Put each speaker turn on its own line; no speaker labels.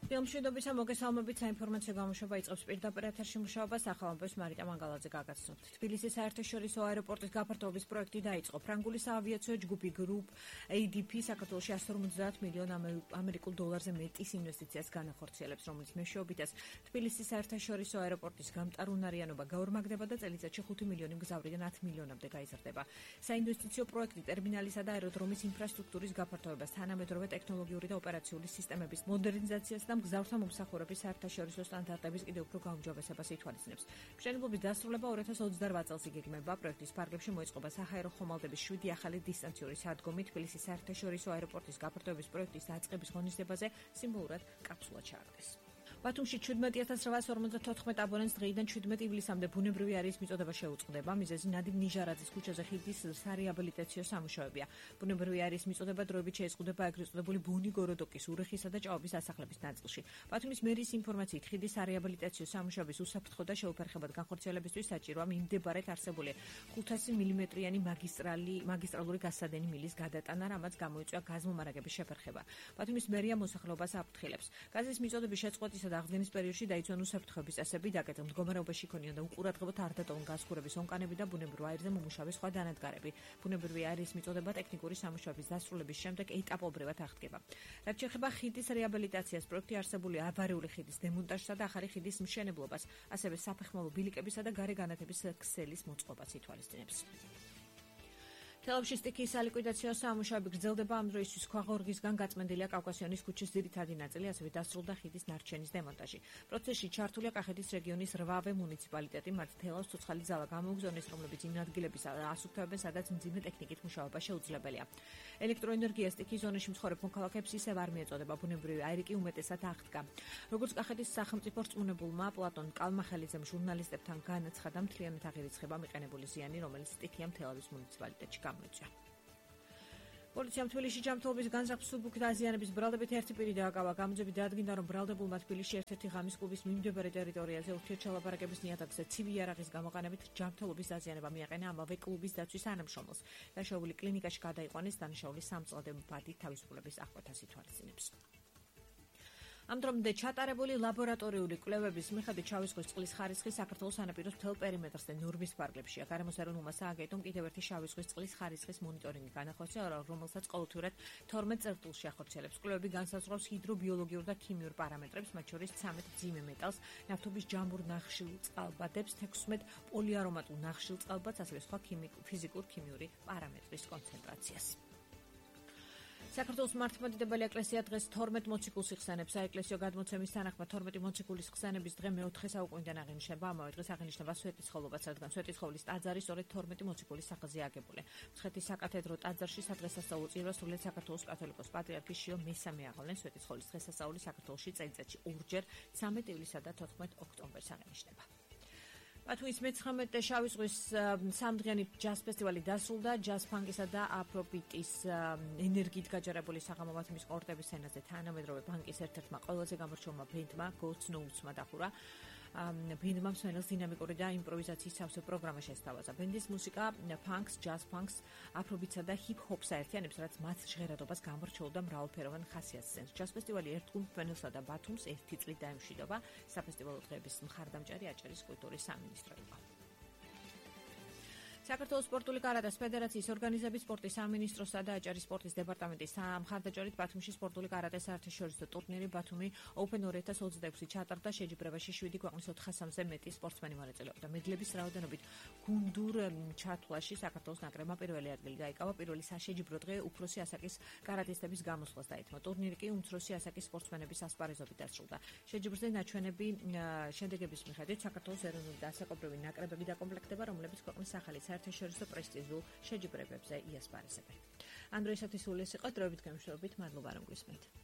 ფილმშვიდობისა მოგესალმებით საინფორმაციო გამოშვება იწყებს პირდაპირ ეთერში მუშაობას ახალამბოს მარიტა მანგალაძე გაგაცნობთ. თბილისის საერთაშორისო აეროპორტის გაფართოების პროექტი დაიწყო. ფრანგული საავიაციო ჯგუფი Group ADP საქართველოში 150 მილიონ ამერიკულ დოლარზე მეტის ინვესტიციას განახორციელებს, რომლის მეშვეობითაც თბილისის საერთაშორისო აეროპორტის გამტარუნარიანობა გაორმაგდება და წელიწადში 5 მილიონი მგზავრიდან 10 მილიონამდე გაიზრდება. საინვესტიციო პროექტი ტერმინალისა და აეროდრომის ინფრასტრუქტურის გაფართოებას, თანამედროვე ტექნოლოგიური და ოპერაციული სისტემების მოდერნიზაციას და მგზავრთა მომსახურების საერთაშორისო სტანდარტების კიდევ უფრო გაუმჯობესებას ითვალისწინებს. მშენებლობის დასრულება 2028 წელს იგეგმება. პროექტის ფარგლებში მოეწყობა საჰაერო ხომალდების 7 ახალი დისტანციური სადგომი. თბილისის საერთაშორისო აეროპორტის გაფართოების პროექტის დაწყების ღონისძიებაზე სიმბოლურად კაფსულა ჩააგდეს. ბათუმში 17854 აბონენტს დღეიდან 17 ივლისამდე ბუნებრივი არიის მიწოდება შეუწყდება. მიზეზი ნადიმ ნიჟარაძის ქუჩაზე ხიდის სარეაბილიტაციო სამუშაოებია. ბუნებრივი არიის მიწოდება დროებით შეეზღუდება ეგრეთ წოდებული ბონი გოროდოკის, ურეხისა და ჭაობის დასახლების ნაწილში. ბათუმის მერის ინფორმაციით ხიდის სარეაბილიტაციო სამუშაოების უსაფრთხო და შეუფერხებად განხორციელებისთვის საჭიროა მიმდებარედ არსებული 500 მმ-იანი მაგისტრალური გასადენი მილის გადატანა, რამაც გამოიწვია გაზმომარაგების შეფერხება. ბათუმის მერია მოსახლეობას აფრთხილებს. გაზის მიწოდების შეწყვეტის და აღდგენის პერიოდში დაიცვან უსაფრთხოების წესები, დაკეტილ მდგომარეობაში იქონიონ და უყურადღებოდ არ დატოვონ გაზღურების ონკანები და ბუნებრივ აირზე მომუშავე სხვა დანადგარები. ბუნებრივი აირის მიწოდება ტექნიკური სამუშაოების დასრულების შემდეგ ეტაპობრივად აღდგება. რაც შეეხება ხიდის რეაბილიტაციას, პროექტი არსებული ავარიული ხიდის დემონტაჟსა და ახალი ხიდის მშენებლობას, ასევე საფეხმავლო ბილიკებისა და გარე განათების ქსელის მოწყობას ითვალისწინებს. თელავში სტიქიის სალიკვიდაციო სამუშაოები გრძელდება. ამ დროისთვის ქვაღორღისგან გაწმენდილია კავკასიონის ქუჩის ძირითადი ნაწილი, ასევე დასრულდა ხიდის ნარჩენის დემონტაჟი. პროცესში ჩართულია კახეთის რეგიონის 8-ვე მუნიციპალიტეტი. მათ თელავს ცოცხალი ძალა გამოუგზავნეს, რომლებიც იმ ადგილების ასუფთავებენ, სადაც მძიმე ტექნიკით მუშაობა შეუძლებელია. ელექტროენერგია სტიქიის ზონაში მცხოვრებ მოქალაქეებს ისევ არ მიეწოდება. ბუნებრივი აირი კი უმეტესად აღდგა. როგორც კახეთის სახელმწიფო რწმუნებულმა პლატონ კალმახელიძემ ჟურნალისტებთან განაცხადა, მთლიანად აღირიცხება მიყენებული ზიანი, რომელიც სტიქიამ თელავის მუნიციპალიტეტში პოლიციამ თბილისში ჯანმრთელობის განზრახვის სუბუქი დაზიანების ბრალდებით ერთი პირი დააკავა. გამოძები დაადგინდა, რომ ბრალდებულმა თბილისში ერთ-ერთი ღამის კლუბის მიმდებარე ტერიტორიაზე ურთიერთშალაპარაკების ნიადაგზე ცივი იარაღის გამოყენებით ჯანმრთელობის დაზიანება მიაყენა ამავე კლუბის დაცვის თანამშრომელს. დაშავული კლინიკაში გადაიყვანეს, დანაშაული სამწლამდე მბადი თავისუფლების აღკვეთას ითვალისწინებს. ამ დრომდე ჩატარებული ლაბორატორიული კვლევების მიხედვით შავი ზღვის წყლის ხარისხი საქართველოს სანაპიროს მთელ პერიმეტრზე ნორმის ფარგლებშია. გარემოს ეროვნულმა სააგენტომ კიდევ ერთი შავი ზღვის წყლის ხარისხის მონიტორინგი განახორციელა, რომელსაც ყოველთვიურად 12 წერტილში ახორციელებს. კვლევები განსაზღვრავს ჰიდრობიოლოგიურ და ქიმიურ პარამეტრებს, მათ შორის 13 მძიმე მეტალს, ნავთობის ჯამურ ნახშირწყალბადებს, 16 პოლიარომატულ ნახშირწყალბადს, ასევე სხვა ფიზიკურ-ქიმიური პარამეტრის კონცენტრაციას. საქართველოს მართლმადიდებელი ეკლესია დღეს 12 მოციქულს იხსენებს. საეკლესიო გადმოცემის თანახმად 12 მოციქულის ხსენების დღე მე-4 საუკუნიდან აღინიშნება. ამავე დღეს აღინიშნება სვეტიცხოვლობაც, რადგან სვეტიცხოვლის ტაძარი სწორედ 12 მოციქულის სახელზეა აგებული. მცხეთის საკათედრო ტაძარში სადღესასწაულო წირვას სრულიად საქართველოს კათოლიკოს პატრიარქი შიო მესამე აღავლენ. სვეტიცხოვლის დღესასწაული საქართველოში წელიწადში ორჯერ 13 ივლისსა და 14 ოქტომბერს აღინიშნება. ბათუმის მე-19 შავი ზღვის სამდღიანი ჯაზ ფესტივალი დასრულდა. ჯაზ ფანკისა და აფრობიტის ენერგიით გაჯერებული საღამო ბათუმის ყორტების სცენაზე თანამედროვე ბანკის ერთ-ერთმა ყველაზე გამორჩეულმა ბენდმა გოლდსნოუსმა დახურა. ბენდმა მსმენელს დინამიკური და იმპროვიზაციის სავსე პროგრამა შესთავაზა. ბენდის მუსიკა ფანკს, ჯაზ ფანკს, აფრობიტსა და ჰიპ-ჰოპს აერთიანებს, რაც მათ ჟღერადობას გამორჩეულ და მრავალფეროვან ხასიათს სცემს. ჯაზ ფესტივალი ერთგულ მსმენელსა და ბათუმს ერთი წლით დაემშვიდობა. საფესტივალო დღეების მხარდამჭერი აჭარის კულტურის სამინისტროება. საქართველოს სპორტული კარატეს ფედერაციის ორგანიზების სპორტის სამინისტროსა და აჭარის სპორტის დეპარტამენტის მხარდაჭერით ბათუმში სპორტული კარატეს საერთაშორისო ტურნირი ბათუმი Open 2026 ჩატარდა. შეჯიბრებაში 7 ქვეყნის 400-ზე მეტი სპორტსმენი მონაწილეობდა. მედლების რაოდენობით გუნდურ ჩათვლაში საქართველოს ნაკრებმა პირველი ადგილი დაიკავა. პირველი საშეჯიბრო დღე უფროსი ასაკის კარატისტების გამოსვლას დაეთმო. ტურნირი კი უმცროსი ასაკის სპორტსმენების ასპარეზობით დასრულდა. შეჯიბრზე ნაჩვენები შედეგების მიხედვით საქართველოს ეროვნული და ასაკობრივი ნაკრებები დაკომპლექტდება, რომლებიც ქვეყნის ახალი საერთაშორისო პრესტიჟულ შეჯიბრებებზე იასპარეზებენ. ამ დროისათვის სულ ეს იყო. დროებით გამშვიდობით, მადლობა რომ გვისმენთ.